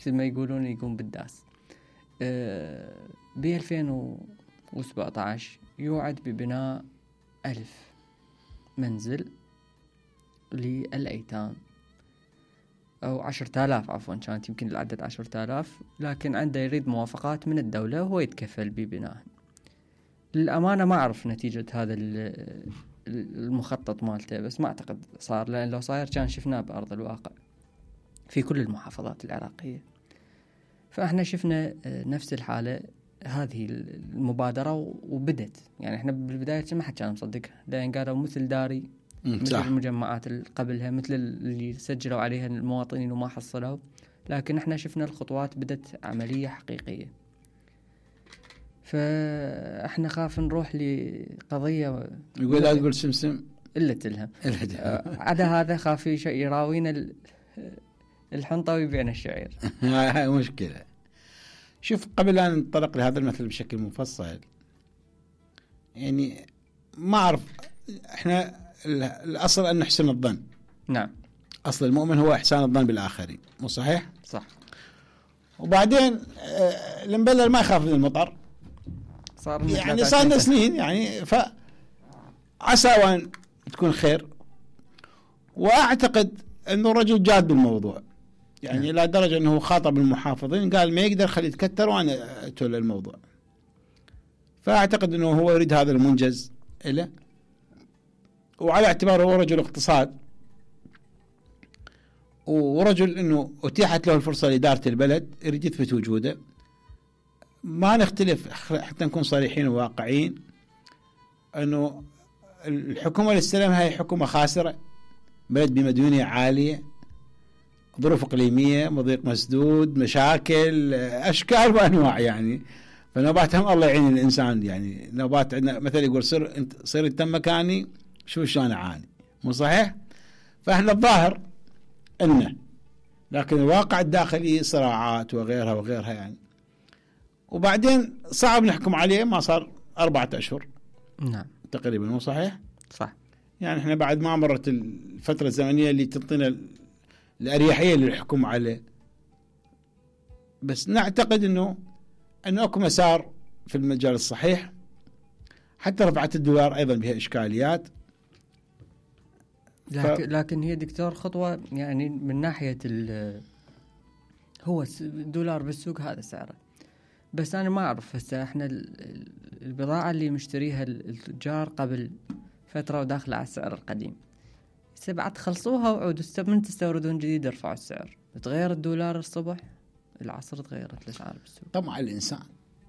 مثل ما يقولون يقوم بالداس. ب 2017 يوعد ببناء 1000 منزل للأيتام، أو 10,000 عفوا، كانت يمكن العدد 10,000، لكن عنده يريد موافقات من الدولة وهو يتكفل ببناء. للأمانة ما أعرف نتيجة هذا المخطط مالته، بس ما أعتقد صار، لأن لو صاير كان شفناه بأرض الواقع في كل المحافظات العراقية. فإحنا شفنا نفس الحالة، هذه المبادرة وبدت. يعني إحنا بالبداية ما حد كان مصدقها، لأن قالوا مثل داري، مثل المجمعات اللي قبلها، مثل اللي سجلوا عليها المواطنين وما حصلوا. لكن إحنا شفنا الخطوات بدت عملية حقيقية. فإحنا خاف نروح لقضية يقول لا تقول سمسم إلا تلهم. عدا هذا خاف شيء يراوينا الحنطة ويبيعنا الشعير. هاي مشكلة. شوف، قبل أن ننطلق لهذا المثل بشكل مفصل، يعني ما أعرف، إحنا الأصل أن نحسن الظن. نعم. أصل المؤمن هو إحسان الظن بالآخرين، مو صحيح؟ صح. وبعدين المبلل ما يخاف من المطر، يعني صار سنين، يعني فعسى وأن تكون خير. وأعتقد أنه رجل جاد بالموضوع، يعني لا درجة أنه خاطب المحافظين قال ما يقدر خلي يتكتر وأنا أتولى الموضوع. فأعتقد أنه هو يريد هذا المنجز له، وعلى اعتباره هو رجل اقتصاد ورجل أنه أتيحت له الفرصة لإدارة البلد، يريد يثبت وجوده. ما نختلف حتى نكون صريحين وواقعين أنه الحكومة اللي استلمها هي حكومة خاسرة، بلد بمديونية عالية، ظروف إقليمية، مضيق مسدود، مشاكل أشكال وأنواع. يعني فنوباتهم الله يعين الإنسان، يعني نوبات عندنا مثل يقول صير انت مكاني شو أنا عاني، مو صحيح؟ فإحنا الظاهر إنه، لكن الواقع الداخلي صراعات وغيرها وغيرها يعني. وبعدين صعب نحكم عليه، ما صار 4 أشهر. نعم تقريبا، مو صحيح؟ صح. يعني إحنا بعد ما مرت الفترة الزمنية اللي تعطينا الأريحية للحكم عليه. بس نعتقد أنه أكو مسار في المجال الصحيح. حتى رفعت الدولار أيضا بها إشكاليات، لكن هي دكتور خطوة، يعني من ناحية هو الدولار بالسوق هذا سعره. بس أنا ما أعرف هسه إحنا البضاعة اللي مشتريها التجار قبل فترة وداخلة على السعر القديم، بعد خلصوها وعودوا من تستوردون جديد ارفعوا السعر. تغير الدولار الصبح العصر تغيرت الأسعار بالسوق. طمع الإنسان